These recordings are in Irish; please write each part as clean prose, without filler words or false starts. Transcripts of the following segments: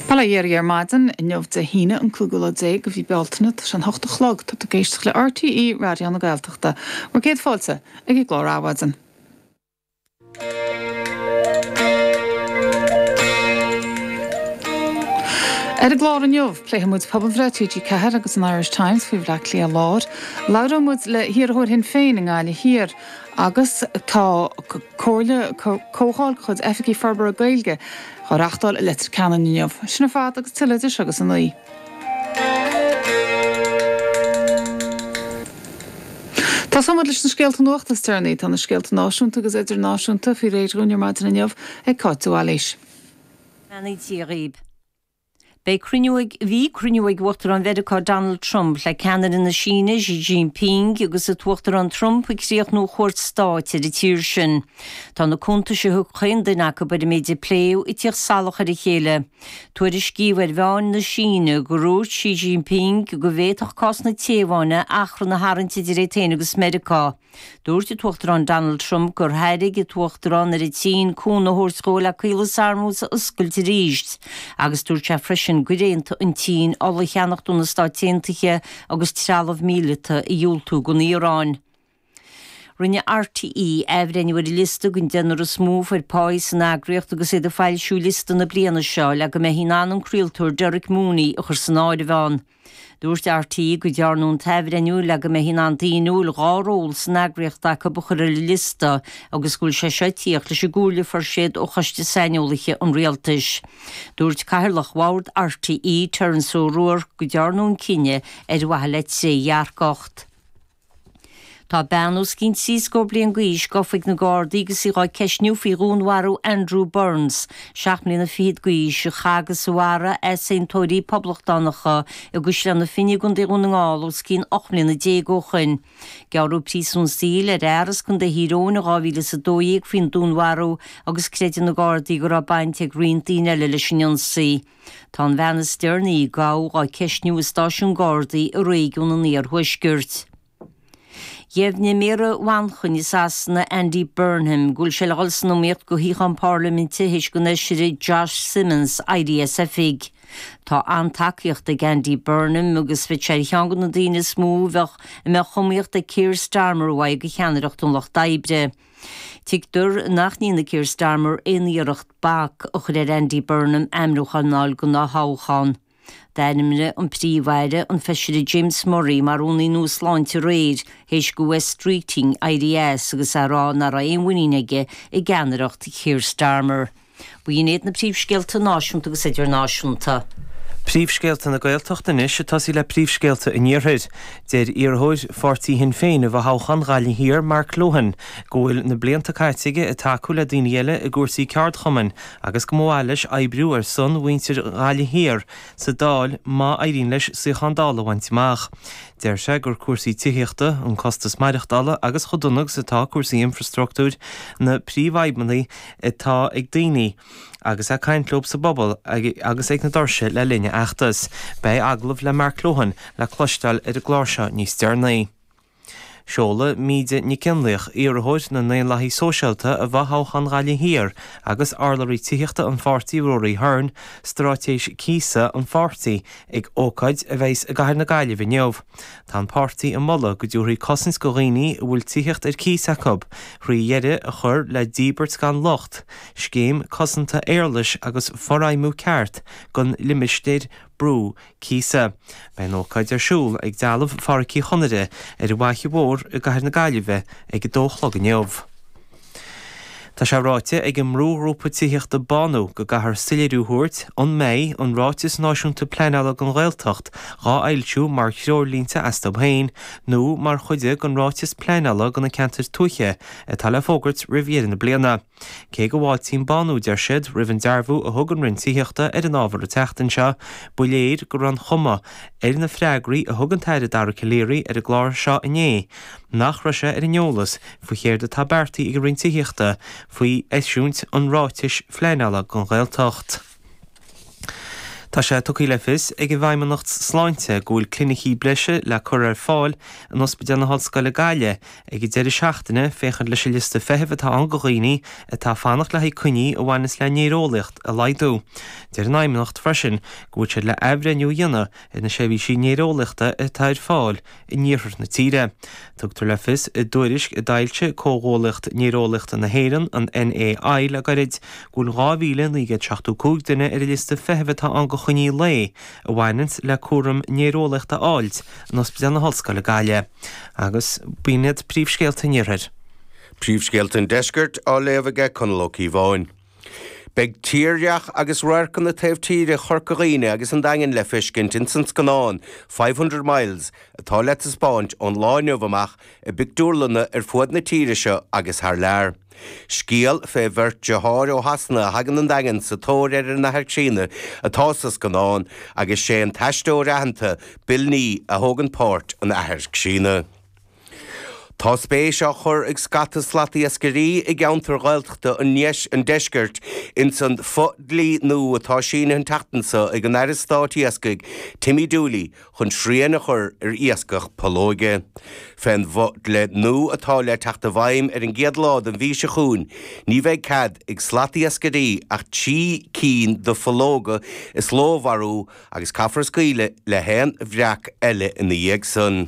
Bail ó Dhia oraibh ar maidin, inniu Dé hAoine an cúigiú lá déag de mhí Bealtaine, tá sé an hocht a chlog, tá tú ag éisteacht le RTÉ Raidió na Gaeltachta. Bhur gcéad fáilte ag an gclár Adhmhaidin. Ar an gclár inniu, pléifidh muid pobalbhreith TG4 agus an Irish Times faoi Bhleá Cliath Láir, labhróidh muid le hiarrthóir Shinn Féin i nGaillimh Thiar agus tá comhairle, comhdháil de chuid Oifigigh Forbartha Gaeilge á reachtáil i Leitir Ceanainn inniu. Sin ar fad agus tuilleadh idir seo agus a naoi. Tosóidh muid leis na scéalta nuachta is deireanaí. Tá na scéalta náisiúnta agus idirnáisiúnta faoi réir dhúinn ar maidin inniu ag Cáit de Bhailís. Beannaí Dia dhaoib. Beidh cruinniú ag, bhí cruinniú ag Uachtarán Mheiriceá Donald Trump le ceannaire na Síne Xi Jinping agus an tUachtarán Trump ag críochnú a chuairt stáit ar an tír sin. Tá na cuntais a thug chaon duine acu ar an méid a pléadh ag tíocht salach ar a chéile. Tuairiscíodh ar mheáin na Síne gur dhúirt Xi Jinping go bhféadfadh cás na Téaváine achrann a tharraingt idir é féin agus Meiriceá. Dúirt an tUachtarán Donald Trump gur thairg an tUachtarán ar an tSín cúnamh a thabhairt dhó le Caolas Hormuz a oscailt arís agus dúirt sé freisin gur aontaigh an tSín ola a cheannacht ó na Stáit Aontaithe agus trealamh míleata a dhiúltú don Iaráin. Rinne RTÉ athbhreithniú ar an liosta den deichniúr is mó a fuair páí san eagraíocht agus iad ag foilsiú liosta na bliana seo le go mbeifí in ann an craoltóir Derek Mooney a chur san áireamh ann. Dúirt RTÉ go dtearnadh an t-athbhreithniú le go mbeifí in ann daoine a bhfuil 2 ról san eagraíocht acu a chur ar an liosta agus go bhfuil sé seo ag tíocht leis an gcomhairle a fuair siad ó Choiste Saineolaithe an Rialtais. Dúirt Cathaoirleach Bhord RTÉ, Terence O'Rourke, go dtearnadh an cinneadh ar mhaithe le trédhearcacht. Tá bean os cionn trí scór bliain d'aois gafa ag na Gardaí agus í dhá ceistniú faoi dhúnmharú Andrew Burns, seacht mbliana fichead d'aois, a chaith agus a mharaigh easaontóirí poblachtánacha i gCaisleán na Finne i gContae Dhún na nGall os cionn 18 mbliana ó shoin. Gearradh príosún saoil ar fhear as Contae Thír Eoghain in 2012 faoin dúnmharú agus creideann na Gardaí go raibh baint ag roinnt daoine eile leis an ionsaí. Tá an bhean is deireanaí a gabhadh á ceistniú i stáisiún Gardaí i réigiún an iarthuaiscirt. Dheimhnigh Méara Mhanchain i Sasana, Andy Burnham, go bhfuil sé le dhul san iomaíocht do shuíochán parlaiminte théis don fheisire Josh Simmonds éirí as oifig. Tá an-tacaíocht ag Andy Burnham agus bheadh sé ar cheann de na daoine is mó a bheadh a mbeadh iomaíocht ag Keir Starmer uaidh do cheannaireacht an Lucht Oibre. Tuigtear nach ndéanfaidh Keir Starmer aon iarracht bac a chur ar Andy Burnham ainmniúchán a fháil don dá thoghchán. D'ainmnigh an Príomh-Aire an Feisire James Murray mar Rúnaí nua Sláinte aréir théis do Wes Streeting éirí as agus é ag rá nach raibh aon mhuinín aige i gceannaireacht Keir Starmer. B'in iad na príomhscéalta náisiúnta agus idirnáisiúnta. Príomhscéalta na Gaeltachta anois, ag tosaí le príomhscéalta an Iarthair. Deir iarrthóir pháirtí Shinn Féin i bhfothoghchán Ghaillimh Thiar, Mark Lohan, go bhfuil na blianta caite aige ag tacú le daoine eile i gcúrsaí ceardchumainn agus go mba mhaith leis oibriú ar son mhuintir Ghaillimh Thiar sa Dáil má éiríonn leis suíochán Dála a bhaint amach. Deir sé gur cúrsaí tithíochta, an costas maireachtála agus chomh dona agus atá cúrsaí infreastruchtúir na príomhfhadhbanna atá ag daoine agus é ag caint leo sa bpobal agus ag na doirse le linn a fheachtais. Beidh agallamh le Mark Lohan le cloisteáil ar an gclár seo níos deireanaí. Seolfaidh Míde Nic Fhionnlaoich, iarrthóir na nDaonlathaithe Sóisialta i bhfothoghchán Ghaillimh Thiar agus urlabhraí tithíochta an pháirtí Ruairí Hearne, straitéis cíosa an pháirtí ag ócáid a bheas i gcathair na Gaillimhe inniu. Tá an páirtí ag moladh go dtabharfaí cosaint go dhaoine a bhfuil tithíocht ar cíos acu, thrí dheireadh a chur le díbirt gan locht, scéim cosanta éarlais agus forfheidhmiú ceart don limistéar brú cíosa. Beidh an ócáid ar siúl ag Dealbh Phádraic Uí Chonaire ar an bhFaiche Mhór i gcathair na Gaillimhe ag a dó a chlog inniu. Tá sé ráite ag an mbrúghrúpa tithíochta Bánú go gcaithfear soiléiriú a thabhairt an mbeidh an Ráiteas Náisiúnta Pleanála don Ghaeltacht dhá fhoilsiú mar threoirlínte astu féin nó mar chuid den Ráiteas Pleanála do na Ceantair Tuaithe atá le fógairt roimh dheireadh na bliana. Cé go bhfáiltíonn Bánú, deir siad, roimh an dearbhú a thug an Roinn Tithíochta ar an ábhar an tseachtain seo, ba léir go raibh an chuma ar na freagraí a thug an tAire Dara Calleary ar an gclár seo inné nach raibh sé ar an eolas faoi chéard atá beartaithe ag an Roinn Tithíochta faoi eisiúint an ráitis phleanála don Ghaeltacht. Tá sé tugtha le fios ag an bhFeidhmeannacht Sláinte go bhfuil clinicí breise le cur ar fáil in Ospidéal na hOllscoile Gaillimh ag an deireadh seachtaine féachaint leis an liosta feithimh atá ann go dhaoine atá ag fanacht le haghaidh coinní a bhaineas le néareolaíocht a laghdú. Deir an Fheidhmeannacht freisin go bhfuil siad le athbhreithniú a dhéanamh ar na seirbhísí néareolaíochta atá ar fáil in iarthar na tíre. Tugtar le fios i dtuairisc a d'fhoilsigh Comhghuaillíocht Néareolaíochta na hÉireann, an NAI, le gairid, go bhfuil 2,975 duine ar an liosta feithimh atá ann go choinní lae a bhaineanns le cúram néareolaíochta a fháilt in Ospidéal na hOllscoile Gaillimh. Agus b'in iad príomhscéalta an Iarthair. Príomhscéalta an Deiscirt á léamh aige Conall Ó Cíobháin. Beidh tírdhreach agus radharcanna taobh tíre Chorca Dhuibhne agus an Daingin le feiscint ins an scannán 500 Miles atá le taispeáint ón lá inniu amach i bpictiúrlanna ar fuaid na tíre seo agus thar lear. Scéal fé bheirt deartháir ó Shasana a thagann 'on Daingean sa tóir ar a n-athair críonna atá sa scannán agus sé an t-aisteoir aitheanta Bill Nighy a thógann páirt an athar críonna. Tá spéis á chur ag scata slatiascairí i gceantair Ghaeltachta an deiscirt ins an fo-dhlí nua atá sínithe an tseachtain seo ag an Aire Stáit Iascaigh, Timmy Dooley, chun srian a chur ar iascach pollóige. Fén bhfo-dhlí nua atá le teacht i bhfeidhm ar an gcéad lá den mhí seo chugainn, ní bheidh cead ag slatiascairí ach 3 cinn de phollóga is ló a mharú agus caithfear scaoileadh le haon bhreac eile ina dhiaidh san.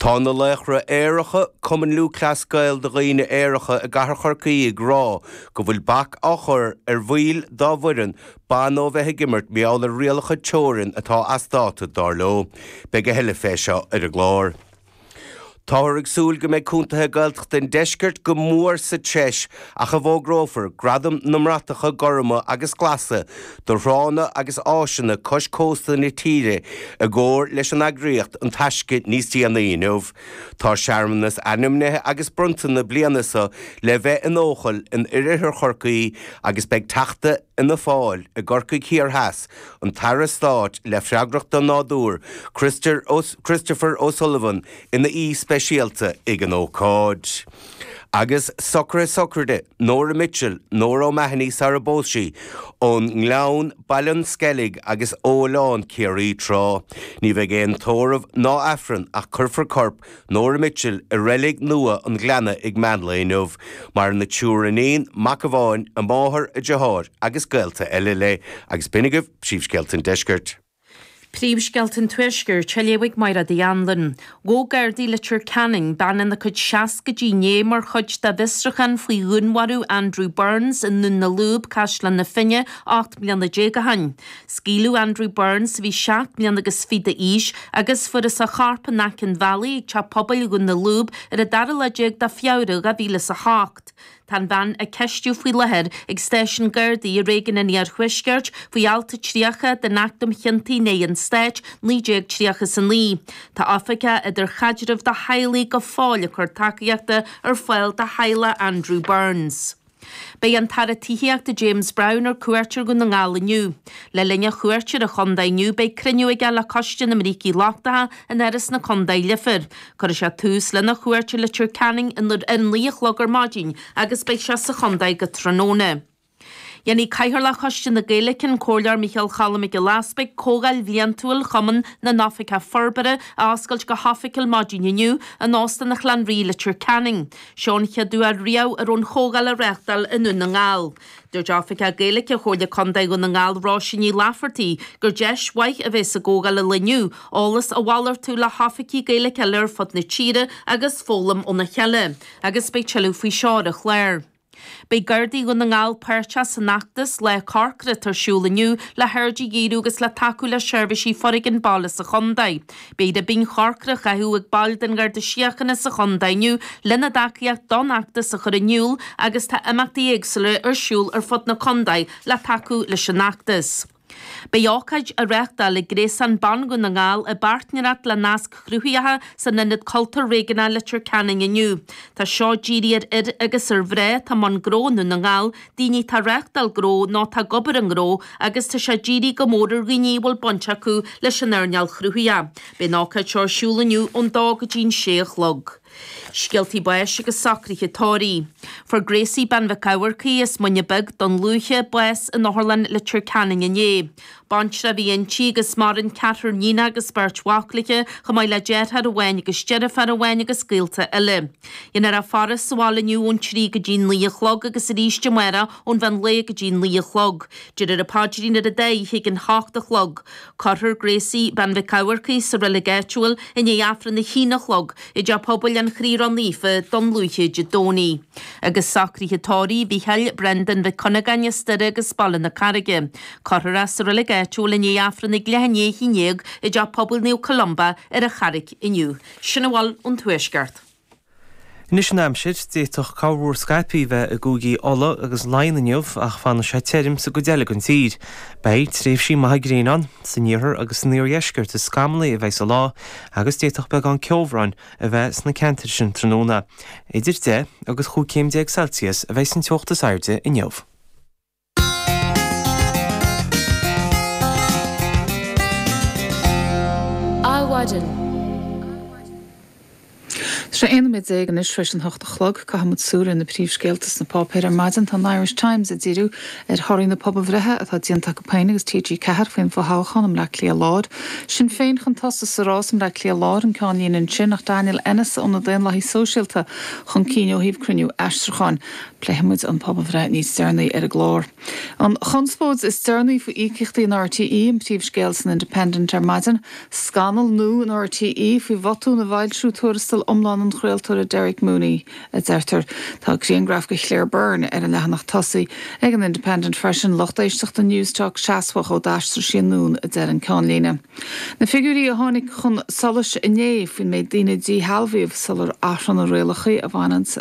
Tá na Laochra Aeracha, Cumann Lúthchleas Gael do dhaoine aeracha i gcathair Chorcaí ag rá go bhfuil bac á chur ar bhaill dá bhfoireann ban ó bheith ag imirt mar gheall ar rialacha teorann atá as dáta, dar leo. Beidh a thuilleadh fé seo ar an gclár. Táthar ag súil go mbeidh contaetha Gaeltachta an deiscirt go mór sa treis ach a bhfógrófar Gradaim na mBratacha Gorma agus Glasa do thránna agus áiseanna cois cósta na tíre i gcomhar leis an eagraíocht An Taisce níos déanaí inniu. Tá searmanas ainmnithe agus bronnta na bliana seo le bheith in Eochaill in oirthear Chorcaí agus beidh Teachta Fhianna Fáil i gCorcaigh Thiar Theas, an tAire Stáit le freagracht don Nádúr, Christopher O'Sullivan ina aoi speisialta ag an ócáid. Agus socruithe sochraide Nóra Mitchell, Nóra O'Mahony sara bpós sí, ón nGleann, Baile an Sceilg agus ó Oileán Ciarraí tráth. Ní bheidh aon tórramh ná Aifreann ach cuirfear corp Nóra Mitchell i reilig nua an Ghleanna ag meánlae inniu. Maireann a triúr iníon, mac amháin, a máthair, a deartháir agus gaolta eile léi. Agus b'in agaibh príomhscéalta an deiscirt. Príomhscéalta an Tuaiscirt á léamh ag Máire Uí Anluain. Ghabh Gardaí Leitir Ceanainn bean ina cuid seascaidí inné mar chuid dá bhfiosrúchán faoi dhúnmharú Andrew Burns i nDún na Lúb, Caisleán na Finne, 18 mbliana ó shin. Scaoileadh Andrew Burns, a bhí seacht mbliana agus fiche d'aois, agus fuarthas a chorp in aice an bhealaigh ag teach pobail Dhún na Lúb ar an dara lá déag de Feabhra 2008. Tá an bhean á ceistiú faoi láthair ag stáisiún Gardaí i réigiún an Iarthuaiscirt faoi alt 30 den Acht um Chiontaí in aghaidh an Stáit, 1939. Tá Oifigeach Idirchaidrimh do Theaghlaigh go fóill ag cur tacaíochta ar fáil do theaghlach Andrew Burns. Beidh an tAire Tithíochta James Browne ar cuairt ar Dhún na nGall inniu. Le linn a chuairte ar an chontae inniu beidh cruinniú aige le Coiste na mBrící Lochtacha in Áras na Contae, Leifear. Cuirfidh sé tús lena chuairt ar Leitir Ceanainn ar a 9 a chlog ar maidin agus beidh sé sa chontae go tráthnóna. Dhéanfaidh Cathaoirleach Choiste na Gaeilge, an Comhairleoir Micheál Cholm Mac Giolla Easpaig, Comhdháil Bhliantúil Chumann na nOifigeach Forbartha a oscailt go hoifigiúil maidin inniu in Óstán an Chlann Rí, Leitir Ceanainn. Seo an chéad uair riamh a raibh an chomhdháil á reáchtáil i nDún na nGall. Dúirt Oifigeach Gaeilge Chomhairle Contae Dhún na nGall Róisín Ní Laifeartaigh gur deis mhaith a bheidh sa gcomhdháil an lae inniu eolas a mhalartú le hoifigigh Gaeilge eile ar fud na tíre agus foghlaim óna chéile agus beidh tuilleadh faoi seo ar an chlár. Beidh Gardaí Dhún na nGall páirteach san fheachtas Lá Corcra atá ar siúl inniu le haird a dhíriú agus le tacú le seirbhísí foréigin baile sa chontae. Beidh ribín chorcra á chaitheamh ag baill den Gharda Síochána sa chontae inniu lena dtacaíocht don fheachtas a chur in iúl agus tá imeachtaí éagsúla ar siúl ar fud na contae le tacú leis an fheachtas. Beidh ócáid á reáchtáil ag Gréasán Ban Dhún na nGall i bpáirtnéireacht le Nasc Chruthaitheacha san Ionad Cultúir Réigiúnach Leitir Ceanainn inniu. Tá seo dírithe ar fhir agus ar mhná atá i mbun gnó i nDún na nGall, daoine atá ag reáchtáil gnó nó atá ag obair i ngnó agus tá sé dírithe go mór ar dhaoine a bhfuil baint acu leis an earnáil chruthaitheach. Beidh an ócáid seo ar siúl inniu ón dó go dtí an sé a chlog. Scéaltaí báis agus socruithe tórraimh. Fuair Gracie Bean Mhic Eamharcaigh as Muine Bheag, Dún Lúiche, bás in Otharlann Leitir Ceanainn inné. Baintreach a bhí inti agus maireann ceathrar níonach agus beirt mhac léi, chomh maith le deartháir amháin agus deirfiúr amháin agus gaolta eile. Déanfar í a faire sa bhaile inniu ón 3 go dtí 9 a chlog agus arís amárach ón mheán lae go dtí 9 a chlog. Déarfar an paidrín ar an dá oíche ag an hocht a chlog. Cuirfear Gracie, Bean Mhic Eamharcaigh, sa reilig áitiúil i ndiaidh Aifreann a haon a chlog i dTeach Pobail an Chroí Ró-Naofa, Dún Lúiche Dé Domhnaigh. Agus socruithe tórraimh Mhícheáil Brendan Mhic Cuinneagáin as Doire agus Baile na Carraige. Cuirfear é sa reilig áitiúil i ndiaidh Aifreann ag leath i ndiaidh a haon dhéag i dTeach Pobail Naomh Columba ar an Charraic inniu. Sin a bhfuil ón Tuaisceart. Anois an aimsir, d'fhéadfadh corrmhúr scaipthe bheith i gcúigí Uladh agus Laighean inniu ach fanfaidh sé tirim sa gcuid eile den tír. Beidh tréimhsí maithe gréine ann. San iarthar agus san iardheisceart is scamallaí a bheidh an lá agus d'fhéadfadh beagán ceobhráin a bheith sna ceantair sin tráthnóna. Idir 10 agus 15 céim Celsius a bheidh an teocht is airde inniu. Adhmhaidin. Tá sé 11 nóiméad anois tar éis an hocht a chlog. Caithfidh muid súil ar na príomhscéalta sna páipéir ar maidin. Tá an Irish Times ag díriú ar thorthaí na pobalbhreithe atá déanta acu féin agus TG4 faoin bhfothoghchán i mBleá Cliath Láir. Sinn Féin chun tosaigh sa rás i mBleá Cliath Láir, an ceannlíne ansin, ach Daniel Ennis ó na Daonlathaigh Sóisialta chun cinn ó thaobh cruinniú aistriúcháin. Pléifidh muid an pobalbhreith níos deireanaí ar an gclár. An chonspóid is deireanaí faoi íocaíochtaí in RTÉ an príomhscéal san Independent ar maidin. Scannal nua in RTÉ faoi bhotún i bhfoilsiú tuarastal iomlán an chraoltóra Derek Mooney, a deirtear. Tá grianghraf de Claire Byrne ar an leathanach tosaigh ag an Independent freisin. Lucht éisteachta Newstalk seasmhach ó d'aistrigh sí anonn, a deir an ceannlíne. Na figiúirí a tháinig chun solais inné faoin méid daoine a díshealbhaíodh sular athraíodh na rialacha a bhaineann.